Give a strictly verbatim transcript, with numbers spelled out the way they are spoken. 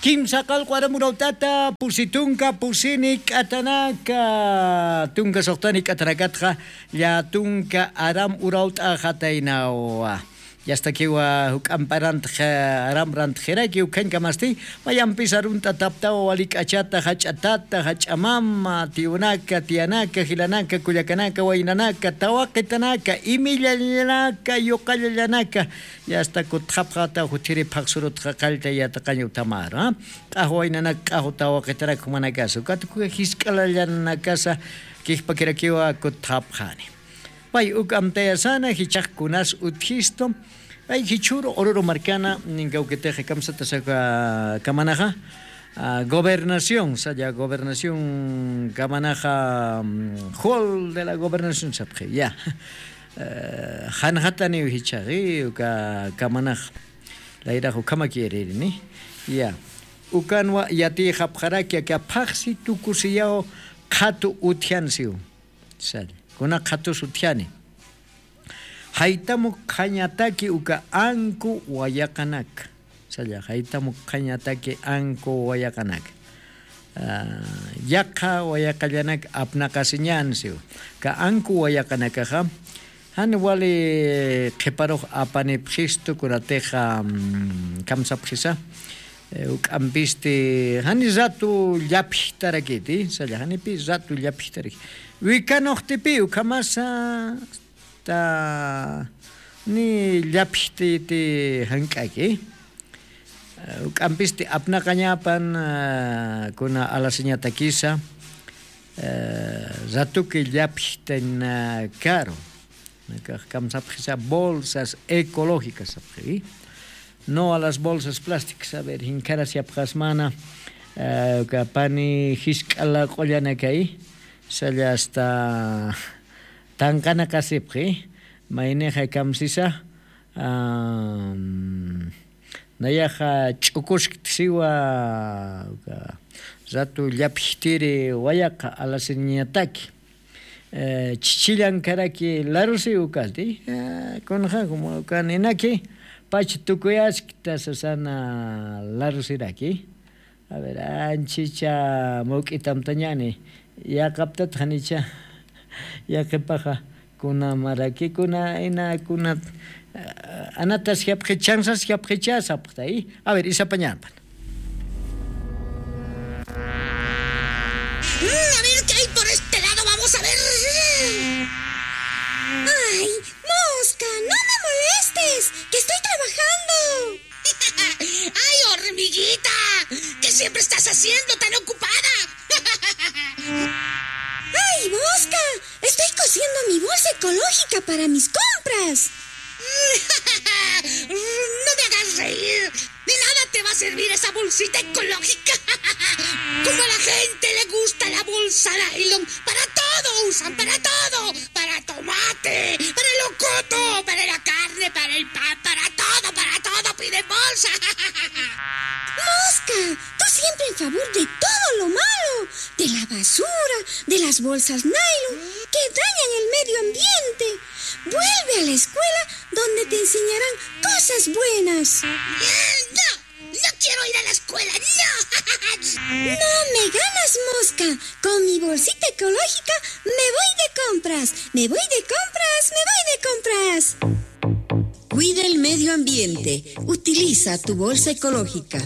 Kimsa qallqu aram urawt'ata, pusi tunka, pusini k'atanaka, tunka suxtani k'atanakatxa, llä tunka aram urawt'axataynawa. Yastakiwa juk'amp arantx aram rantxiraki ukhañkamasti, mayampis arunt'ataptawa wali k'achata, jach'atata, jach'amama, tiyunaka, tiyanaka, jilanaka, kullakanaka, waynanaka, tawaqitanaka, imillallanaka, yuqallallanaka, yasta kutxapxata juthiri phaxsurutxa qallta yataqañ uthamaru, q'axwa waynanak, q'axwa tawaqitarak jumanakasa, ukat uka jisk'alallanakasa kijpakirakiwa kutxapxani. Pay uk amtayasana jichhax kunas utjistu, pay jichhüru Oruro markana, ninkawkitix kamsatasa kamanaxa, gobernación, salla gobernación kamanaxa, hall de la gobernación sapxi, ya. Janxataniw jichhaxi uka kamanax, layrax ukhamakiririni, ya. Ukanwa yatiyxapxaraki aka phaxsi tukusiyaw qhatu utjansiw. Salla kuna qhatus utjani. Jaytam ukxañataki uka anku wayaqanaka, salla jaytam ukxañataki anku wayaqanaka, yaqha wayaqallanak apnaqasiñänsiw. Ka anku wayaqanakaxa jan wali qhiparux apanipxistu kunatixa, kamsapxisa, juk'ampisti jani ratu llapjtarakiti, salla janipi ratu llapjtaraki, wikanuxtipi ukhamasa ta ni llapjtiti jank'aki. Juk'ampisti apnaqañapan kuna alasiñatakisa, ratuki llapjtanakaru. Nakax kamsapxisa bolsas ecológicas sapxi, no a las bolsas plásticas, a ver jinkharasiyapxasmana. Uka pani jisk'a laq'ullanakay, salla asta tanqanakasipxi, maynixa kamsisa, nayaxa ch'ukuskta siwa, ratu llapjtiri wayaqa alasiñataki, chichillankaraki larusi ukati, kunxa como ukaninaki pach tukuyaskta sasana larusiraki. A ver, anchicha mawk'itamtañani, yaqaptat janicha yaqipaxa, kuna maraki kuna ina kuna, anatas japxi chansas japxicha sapxtay. A ver, isapañapan. Mm, a ver qué hay por este lado, vamos a ver. Ay, Mosca, no me molestes, que estoy trabajando. ¡Ay, hormiguita! ¿Qué siempre estás haciendo tan ocupada? ¡Ay, Mosca! Estoy cosiendo mi bolsa ecológica para mis compras. No me hagas reír. De nada te va a servir esa bolsita ecológica. Como a la gente le gusta la bolsa nylon, para todo usan, para todo. Para tomate, para el locoto, para la carne, para el pan, para todo, para todo piden bolsa. Mosca, tú siempre en favor de todo lo malo, de la basura, de las bolsas nylon, que dañan el medio ambiente. Vuelve a la escuela donde te enseñarán cosas buenas. No, no quiero ir a la escuela, no. No me ganas, Mosca. Con mi bolsita ecológica me voy de compras. Me voy de compras, me voy de compras. Cuida el medio ambiente. Utiliza tu bolsa ecológica.